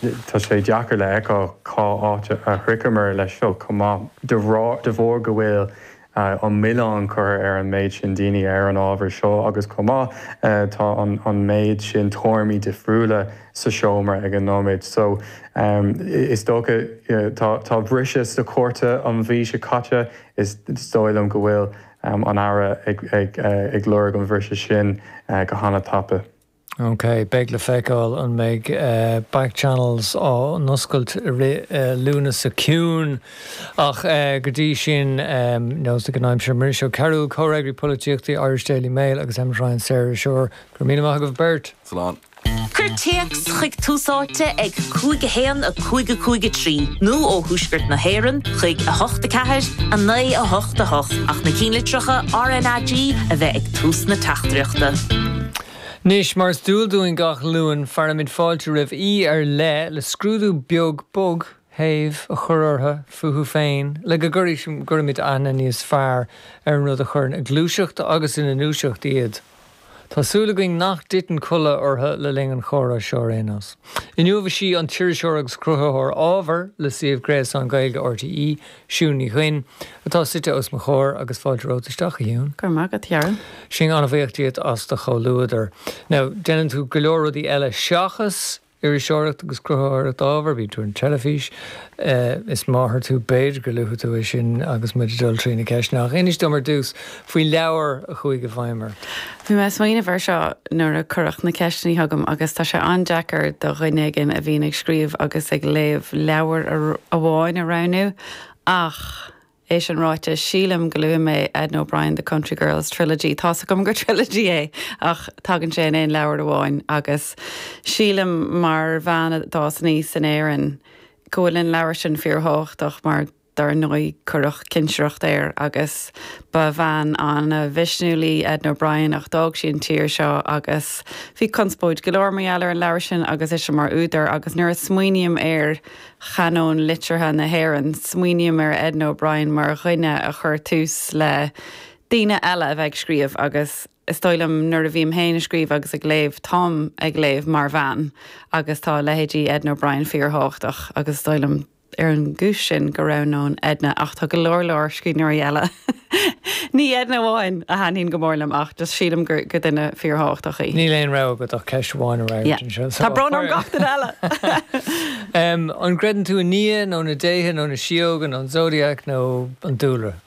Tá sé deacair le fheiceáil cá háit a shroicheamar leis seo chomh maith, de bharr go bhfuil an milleán curtha ar an méid sin daoine ar an ábhar seo agus chomh maith tá an méid sin tuairimí difriúla sa seomra ag an nóiméad. So is dócha tá briseadh sa chúrta an mhí seo caite, is dóigh liom go bhfuil an Aire ag lorg an bhriseadh sin go hana-tapa. Ok, beidh le feiceáil an mbeidh back channels á n-oscailt i rith Lúnasa Ciúin. Ach go dtí sin, nós ag an aimsir, Muiris Ó Cearúil, Comhfhreagraí Polaitíochta Irish Daily Mail agus Emmet Ryan, Saoririseoir. Go raibh míle maith agaibh beirt. Slán. Cuir téacs chuig Tús Áite ag 5 1 5 5 3 nó ó Thuaisceart na hÉireann chuig 8 4 9 8 8 ach na cinnlitreacha RnaG a bheith ag tús na teachtaireachta. Anois, mar is dual dúinn gach Luan, fearaimid fáilte roimh aoi ar leith le scrúdú beag bog, séimh, a chur orthu, fúthu féin, le go gcuirimid aithne níos fearr ar an rud a chuireann ag gluaiseacht agus ina ndúiseacht iad. Tá súil againn nach dtiteann codladh orthu le linn an chomhrá seo ar aon nós. Inniu is í an t-iriseoir agus cruthaitheoir ábhair le suíomh gréasáin Gaeilge RTÉ, Siún Ní Dhuinn, atá suite os mo chomhair agus fáilte romhat isteach, a Shiún. Go raibh maith agat, a Chearbhaill. Sin an-bhuíoch díot as do chomhluadar. Now, déanann tú go leor rudaí eile seachas iriseoireacht agus cruthaitheoireacht ábhair, bíonn tú ar an teilifís, is máthair tú, b'fhéidir go luafaidh tú é sin agus muid ag dul trí na ceisteanna, ach inis dom ar dtús faoi leabhar a chuaigh i bhfeidhm ort. Bhí mé ag smaoineamh air seo nuair a cuireadh na ceisteanna chugam agus tá sé an-deacair do dhuine éigin a bhíonn ag scríobh agus ag léamh leabhar amháin a roghnú ach é sin ráite, sílim go luafaidh mé Edna O'Brien, The Country Girls Trilogy. Tá's agam gur trilogy é ach tagann sé in aon leabhar amháin agus sílim mar bhean a d'fhás aníos in Éirinn go bhfuil an leabhar sin fíorthábhachtach mar dar ndóigh cuireadh cinsireacht air agus ba bhean an-mhisniúil í Edna O'Brien ach d'fhág sí an tír seo agus bhí conspóid go leor mar gheall ar an leabhar sin agus ise mar údar agus nuair a smaoiním ar chanóin liteartha na hÉireann smaoiním ar Edna O'Brien mar dhuine a chuir tús le daoine eile a bheith ag scríobh agus is dóigh liom nuair a bhím féin ag scríobh agus ag léamh táim ag léamh mar bhean agus tá leithéidí Edna O'Brien fíorthábhachtach agus is dóigh liom ar an gcúis sin go roghnóinn Edna ach tá go leor leor scríbhneoirí eile. Ní Edna amháin a thaitníonn go mór liom ach just sílim gur gur duine fíorthábhachtach í. Níl aon rogha agat ach ceist amháin a fhreagairt anseo. Tá brón orm gach duine eile! An gcreideann tú i nDia nó na déithe nó na síóga nó an Zodiac nó an dúlra?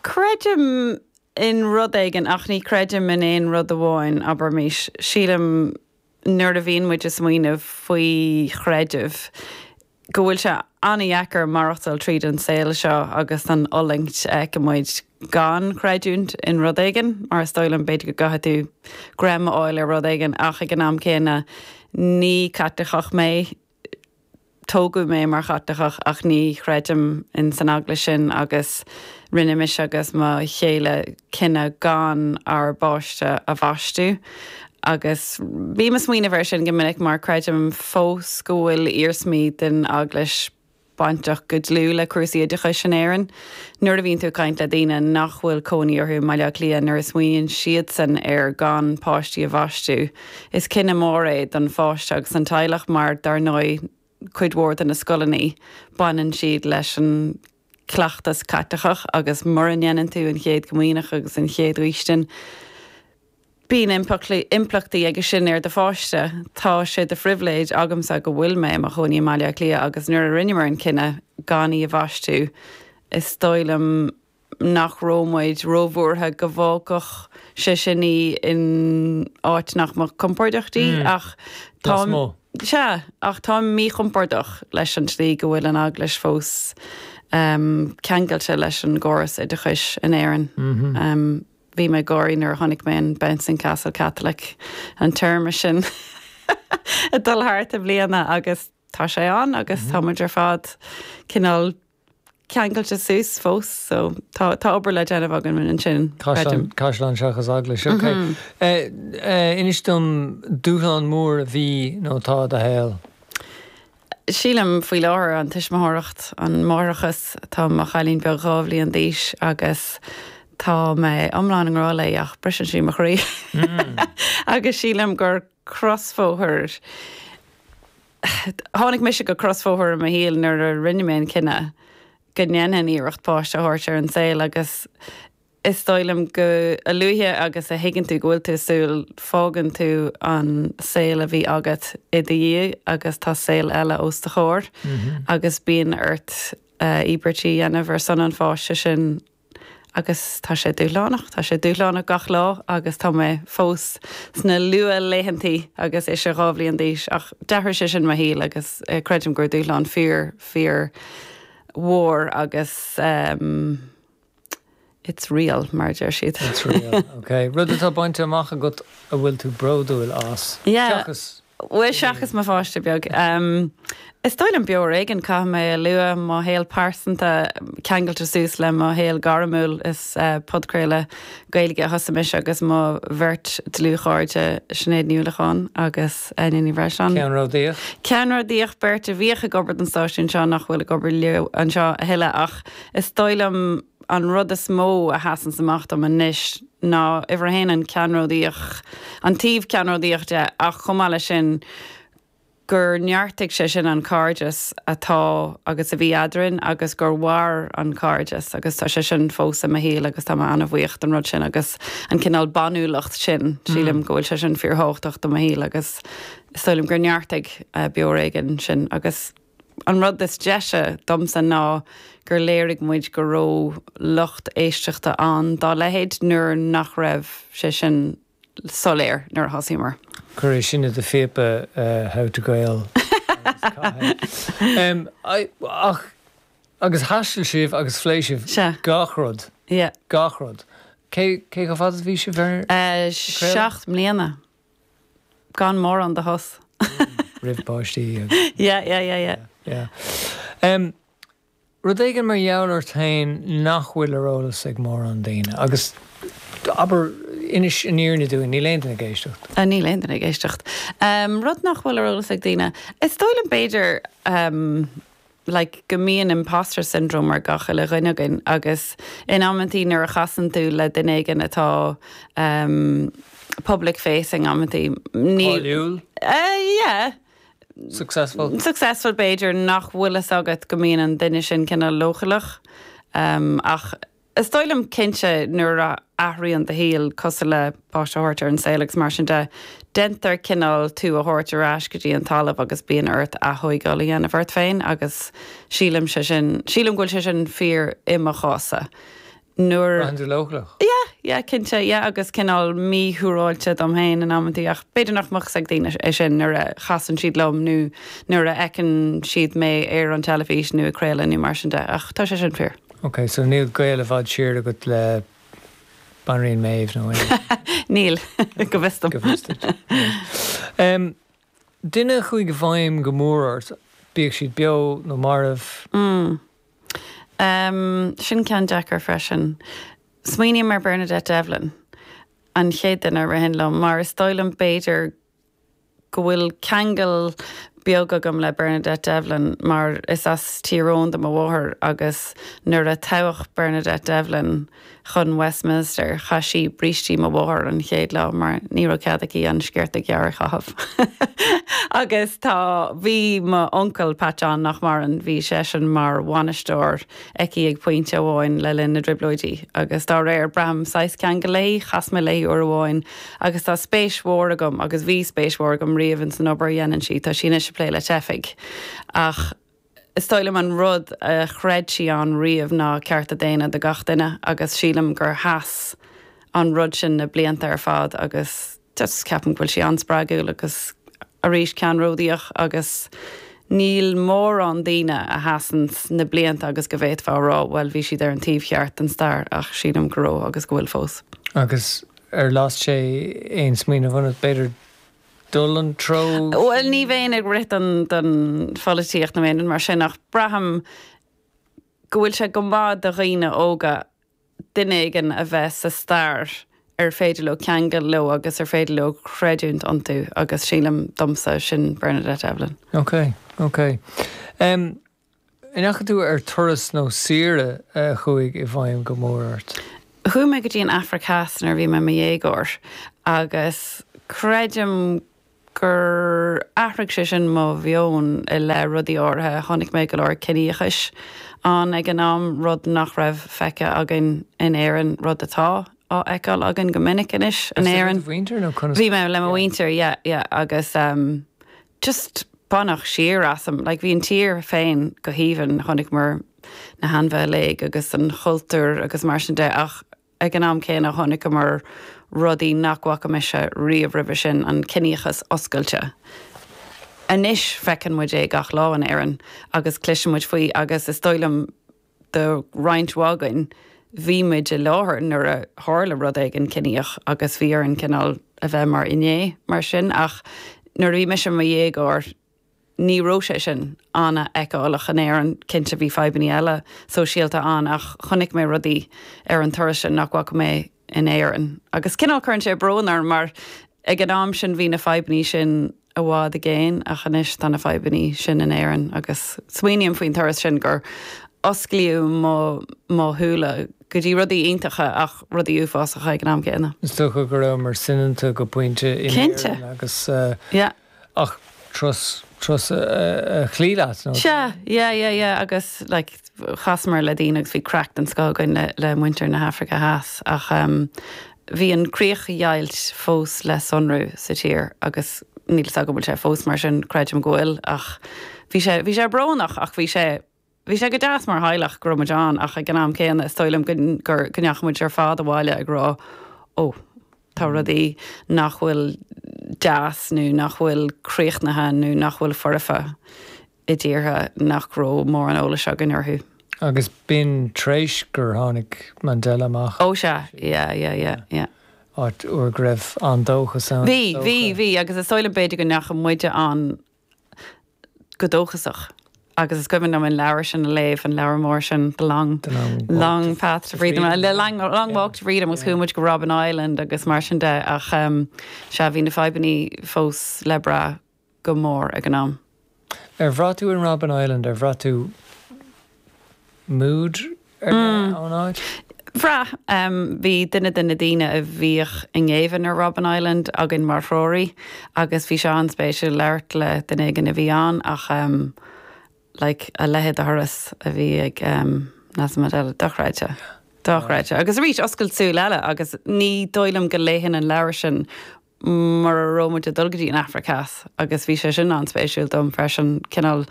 Creidim in rud éigin ach ní chreidim in aon rud amháin, abraimis. Sílim nuair a bhíonn muid ag smaoineamh faoi chreideamh, go bhfuil sé an-dheacair maireachtáil tríd an saol seo agus an fhulaingt a fheiceann muid gan creidiúint in rud éigin, mar is dóigh liom, b'fhéidir go gcaithfidh tú greim a fháil ar rud éigin ach ag an am céanna ní Caitliceach mé. Tógadh mé mar Chaitliceach ach ní chreidim in san eaglais sin agus rinne mise agus mo chéile cinneadh gan ár bpáiste a bhaistiú agus bím ag smaoineamh air sin go minic mar creidim fós go bhfuil iarsmaí den eaglais bainteach go dlúth le cúrsaí oideachais in Éirinn. Nuair a bhíonn tú ag caint le daoine nach bhfuil cónaí orthu i mBaile Átha Cliath, nuair a smaoiníonn siadsan ar gan páistí a bhaistiú, is cinneadh mór é don pháiste agus an teaghlach mar, dar ndóigh, cuid mhór de na scoileanna, baineann siad leis an chleachtas Caitliceach agus mura ndéanann tú an Chéad Chomaoineach agus an Chéad Fhaoistin, Bíonn impleachtaí aige sin ar do pháiste. Tá sé de phribhléid agamsa go bhfuil mé i mo chónaí i mBaile Átha Cliath agus nuair a rinneamar an cinneadh gan í a bhaistiú, is dóigh liom nach raibh muid róbhuartha go bhfágfadh sé sin í in áit nach mbeadh compordach di ach tá Sea, ach táim míchompordach leis an tslí go bhfuil an Eaglais fós ceangailte leis an gcóras oideachais in Éirinn. Bhí mé ag gáirí nuair a chonaic mé an Bouncing Castle Catholic, an téarma sin ag dul thart i mbliana agus tá sé ann agus tá muid ar fad cineál ceangailte suas fós so tá tá obair le déanamh againn ansin, creidim. Caisleán seachas eaglais, ok. Inis dom dúshlán mór a bhí nó atá i do shaol. Sílim faoi láthair, an tuismitheoireacht, an máithreachas. Tá mo chailín beag 2 bhliain d'aois agus tá mé iomlán i ngrá léi ach briseann sí mo chroí. Agus sílim gur crosbhóthar. Tháinig mise go crosbhóthar i mo shaol nuair a rinne mé an cinneadh go ndéanfainn iarracht páiste a thabhairt ar an saol agus is dóigh liom go, a luaithe agus a thuigeann tú go bhfuil tú ag súil, fágann tú an saol a bhí agat i do dhiaidh agus tá saol eile os do chomhair agus bíonn ort íobairtí a dhéanamh ar son an pháiste sin agus tá sé dúshlánach, tá sé dúshlánach gach lá agus tá mé fós sna luath-laethantaí agus ise 2 bhliain d'aois ach d'athraigh sé sin mo shaol agus creidim gur dúshlán fíor, fíor mhór agus it's real mar a deir siad. It's real, ok. Rud atá bainte amach agat a bhfuil tú bródúil as, Yeah. Seachas. Bhuel, seachas mo pháiste beag. Is dóigh liom beo ar éigean, caithfidh mé a lua, mo shaol pearsanta ceangailte suas le mo shaol gairmiúil. Is podchraoladh Gaeilge a thosaigh mise agus mo bheirt dlúthchairde, Sinéad Ní Uallacháin agus Áine Ní Bhreisleáin. Ceannródaíoch. Ceannródaíoch, beirt a bhíodh ag obair don stáisiún seo nach bhfuil ag obair leo anseo a thuilleadh ach is dóigh liom an rud is mó a sheasanns amach dom anois ná, uimhir a haon, an ceannródaíoch, an taobh ceannródaíoch de ach chomh maith leis sin gur neartaigh sé sin an cairdeas atá agus a bhí eadrainn agus gur mhair an cairdeas agus tá sé sin fós i mo shaol agus tá mé an-bhuíoch don rud sin agus an cineál banúlacht sin, sílim go bhfuil sé sin fíorthábhachtach do mo shaol agus is dóigh liom gur neartaigh Beo Ar Éigean sin agus. An rud is deise domsa ná gur léirigh muid go raibh lucht éisteachta ann dá leithéid nuair nach raibh sé sin soiléir nuair a thosaíomar. Cuir é sin i do phíopa How to Gael agus caith é. Ach agus thaistil sibh agus phléigh sibh gach rud. Gach rud. Cé chomh fada is a bhí sibh ar craoladh? 7 mbliana. Gan mórán de shos. Roimh páistí agus. Yeah, yeah, yeah, yeah. Yeah. Em, rud éigin mar gheall ort féin nach bhfuil ar eolas ag mórán daoine agus abair, inis an fhírinne dúinn, níl aon duine ag éisteacht. Ah, níl aon duine ag éisteacht. Em, rud nach bhfuil ar eolas ag daoine. Is dóigh liom b'fhéidir, em, like go mbíonn imposter syndrome ar gach uile dhuine againn agus in amantaí nuair a chasann tú le duine éigin atá um public facing amantaí ní Cáiliúil? Eh yeah. Successful? Successful b'fhéidir nach bhfuil fhios agat go mbíonn an duine sin cineál leochaileach um ach Is dóigh liom cinnte nuair a athraíonn do shaol, cosúil le páiste a thabhairt ar an saol agus mar sin de, déantar cineál tú a thabhairt ar ais go dtí an talamh agus bíonn ort aththóigeáil a dhéanamh ort féin agus sílim sé sin, sílim go bhfuil sé sin fíor i mo chás-sa. Nuair. Braitheann tú leochaileach? Yeah, yeah, cinnte, yeah agus cineál míshiúráilte dom féin in amantaí ach b'fhéidir nach mbeadh fhios ag daoine é sin nuair a chasann siad liom nó nuair a fheiceann siad mé ar an teilifís nó ag craoladh nó mar sin de ach tá sé sin fíor. Ok, so níl gaol i bhfad siar agat le Banríon Méabh nó aon. Níl, go bhfios dom. Go bhfios duit. Em, duine a chuaigh i bhfeidhm go mór ort, bíodh siad beo nó marbh. Mm. Em, sin ceann deacair freisin. Smaoiním ar Bernadette Devlin, an chéad duine a ritheann liom, mar is dóigh liom b'fhéidir go bhfuil ceangal beag agam le Bernadette Devlin mar is as Tír Eoghain do mo mháthair agus nuair a toghadh Bernadette Devlin chun Westminster chaith sí brístí mo mháthar an chéad lá mar ní raibh cead aici an sciorta gearr a chaitheamh. Agus tá, bhí mo uncail Pat John nach maireann, bhí seisean mar bhainisteoir aici ag pointe amháin le linn na dTrioblóidí agus dá réir braithim saghas ceangal léi, chas mé léi uair amháin Agus tá spéis mhór agam, agus bhí spéis mhór agam riamh ins an obair a dhéanann sí, tá sí anois ag plé le teifigh. Ach is dóigh liom an rud a chreid sí ann riamh ná cearta daonna do gach duine agus sílim gur sheas an rud sin na blianta ar fad agus just ceapaim go bhfuil sí an-spreagúil agus arís ceannródaíoch agus níl mórán daoine a sheasann na blianta agus go bhféadfá a rá bhuel bhí siad ar an taobh cheart den stair ach sílim go raibh agus go bhfuil fós. Agus Ar las sé aon smaoineamh ionat, b'fhéidir, dul an treo sin? Bhuel, ní bheinn ag rith don don pholaitíocht nó aon rud mar sin ach braithim go bhfuil sé go maith do dhaoine óga duine éigin a bheith sa stair ar féidir leo ceangal leo agus ar féidir leo creidiúint iontu agus sílim, domsa, sin Bernadette Devlin. Ok, ok. An ndeachaigh tú ar turas nó saoire a chuaigh i bhfeidhm go mór ort? Chuaigh mé go dtí an Afraic Theas nuair a bhí mé i mo dhéagóir agus creidim. gur athraigh sé sin mo mheon i leith rudaí áirithe. Chonaic mé go leor ciníochais ann ag an am, rud nach raibh feicthe againn in Éirinn, rud atá á fheiceáil againn go minic anois in Éirinn. Bhí mé le mo mhuintir, yeah, yeah, agus um, just baineadh siar asam. Like, bhí an tír féin go haoibhinn, chonaiceamar na hainmhithe uilig agus an chultúr agus mar sin de ach Ag an am céanna chonaiceamar rudaí nach bhfaca mise riamh roimhe sin, an ciníochas oscailte. Anois feiceann muid é gach lá in Éirinn agus cloiseann muid faoi agus is dóigh liom do roinnt mhaith againn bhí muid i láthair nuair a tharla rud éigin ciníoch agus bhí orainn cineál a bheith mar fhinné mar sin ach nuair a bhí mise i mo dhéagóir Ní raibh sé sin an-fheiceálach in Éirinn. Cinnte bhí fadhbanna eile sóisialta ann ach chonaic mé rudaí ar an turas sin nach bhfaca mé in Éirinn. Agus cineál cuireann sé brón orm mar ag an am sin bhí na fadhbanna sin i bhfad i gcéin ach anois tá na fadhbanna sin in Éirinn agus smaoiním faoin turas sin gur osclaíodh mo mo shúile go dtí rudaí iontacha ach rudaí uafásacha ag an am céanna. Is dócha go rabhamar soineanta go pointe in Éirinn agus. Yeah. Ach turas, turas a chloígh leat, nó? Sea, yeah, yeah, yeah, agus like chasamar le daoine agus bhí craic den scoth againn le, le muintir na hAfraice Theas ach em bhí an críochdheighilt fós le sonrú sa tír agus níl 'fhios agam an bhfuil sé fós mar sin, creidim go bhfuil ach bhí sé, bhí sé brónach ach bhí sé, Bhí sé go deas mar theaghlach go raibh muid ann ach ag an am céanna is dóigh liom go go ndeachaigh muid ar fad abhaile ag rá ó tá rudaí nach bhfuil deas nó nach bhfuil críochnaithe nó nach bhfuil foirfe i dtíortha nach raibh mórán eolais againn orthu. Agus b'in tar éis gur tháinig Mandela amach. Ó sea, yeah, yeah, yeah, yeah. Áit uair go raibh an-dóchas ann. Bhí, bhí, bhí agus is dóigh liom b'fhéidir go ndeachaigh muide ann go dóchasach agus is cuimhin liom an leabhar sin a léamh, an leabhar mór sin, The Long, The Long, long Path to Freedom, The Long, long Walk to Freedom agus chuaigh muid go Robben Island agus mar sin de ach um, sea bhí na fadhbanna fós le brath go mór ag an am. Ar bhraith tú in Robben Island, ar bhraith tú mood ar leith ón áit? Bhraith. Bhí duine de na daoine a bhíodh i ngéibheann ar Robben Island againn mar threoraí agus bhí sé an-spéisiúil labhairt le duine éigin a bhí ann ach like a leithéid de thuras a bhí ag Nelson Mandela, dochreidte. Dochreidte. Agus arís, oscailt súl eile agus ní dóigh liom go léifinn an leabhar sin mura raibh muid ag dul go dtí an Afraic Theas agus bhí sé sin an-spéisiúil dom freisin, cineál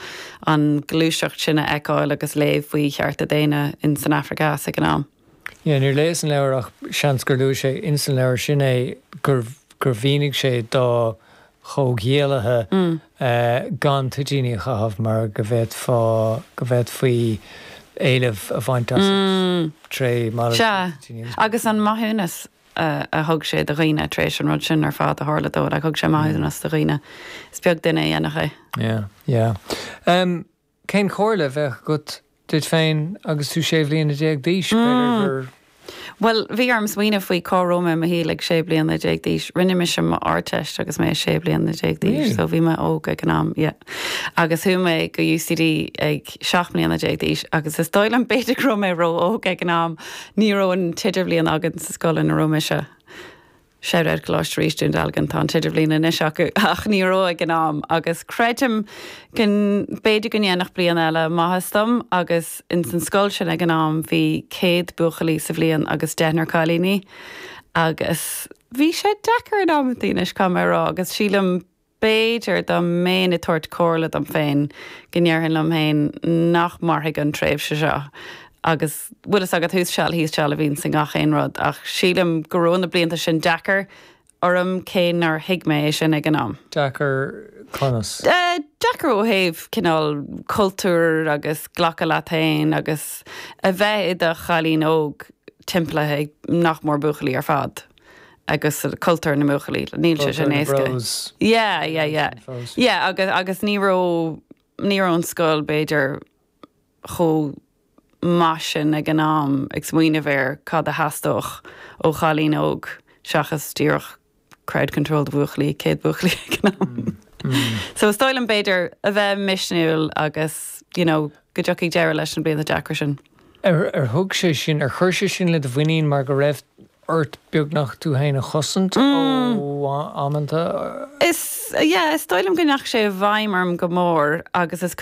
an ghluaiseacht sin a fheiceáil agus léamh faoi chearta daonna in san Afraic Theas ag an am. Yeah, níor léas an leabhar ach seans gur luaigh sé ins an leabhar sin é gur gur mhínigh sé dá chomhghiallaithe gan toitíní a chaitheamh mar go bhféadfá go bhféadfaí éileamh a bhaint asat tré mhalairt Sea, toitíní agus. agus an maithiúnas. a thug sé do dhaoine tar éis an rud sin ar fad a tharla dó. Like, thug sé maithiúnas do dhaoine. Is beag duine a dhéanfadh é. Yeah, yeah. Um, cén chomhairle a bheadh agat duit féin agus tú 16 bhliana d'aois? B'fhéidir gur. Bhuel, bhí orm smaoineamh faoi cá raibh mé i mo shaol ag 16 bliana d'aois. Rinne mise m'Ardteist agus mé 16 bliana d'aois, so bhí mé óg ag an am, yeah. Agus chuaigh mé go UCD ag 17 mbliana d'aois agus is dóigh liom b'fhéidir go raibh mé ró-óg ag an am. Ní raibh an t-idirbhliain againn sa scoil ina raibh mise. Shout out Coláiste Rís Dún Dealgan, tá an t-idirbhliain anois acu ach ní raibh ag an am agus creidim go b'fhéidir go ndéanfadh bliain eile maitheas dom agus ins an scoil sin ag an am bhí 100 buachaillí sa bhliain agus deichniúr cailíní agus bhí sé deacair in amantaí anois caithfidh mé a rá agus sílim B'fhéidir, dá mbeinn ag tabhairt comhairle dom féin, go ndéarfainn liom féin nach mairfidh an tréimhse seo agus bhfuil fhios agat thuas seal thíos seal a bhíonns i ngach aon rud ach sílim go raibh na blianta sin deacair orm cé nár thuig mé é sin ag an am. Deacair conas? Deacair ó thaobh cineál cultúir agus glacadh leat féin agus a bheith i do chailín óg timpeallaithe ag nach mór buachaillí ar fad. agus cultúr na mbuachaillí, níl sé sin éasca. Yeah, yeah, yeah. Yeah, agus, agus ní raibh, ní raibh an scoil b'fhéidir chomh maith sin ag an am ag smaoineamh ar cad a theastódh ó chailín óg seachas díreach crowd control do bhuachaillí, 100 buachaillí ag an am. So is dóigh liom b'fhéidir a bheith misniúil agus, you know, go dtiocfaidh deireadh leis na blianta deacra sin. Ar, ar thug sé sin, ar chuir sé sin le do mhuinín mar go raibh. ort beagnach tú féin a chosaint ó amanta? Is, yeah, is dóigh liom go ndeachaigh sé i bhfeidhm orm go mór agus is.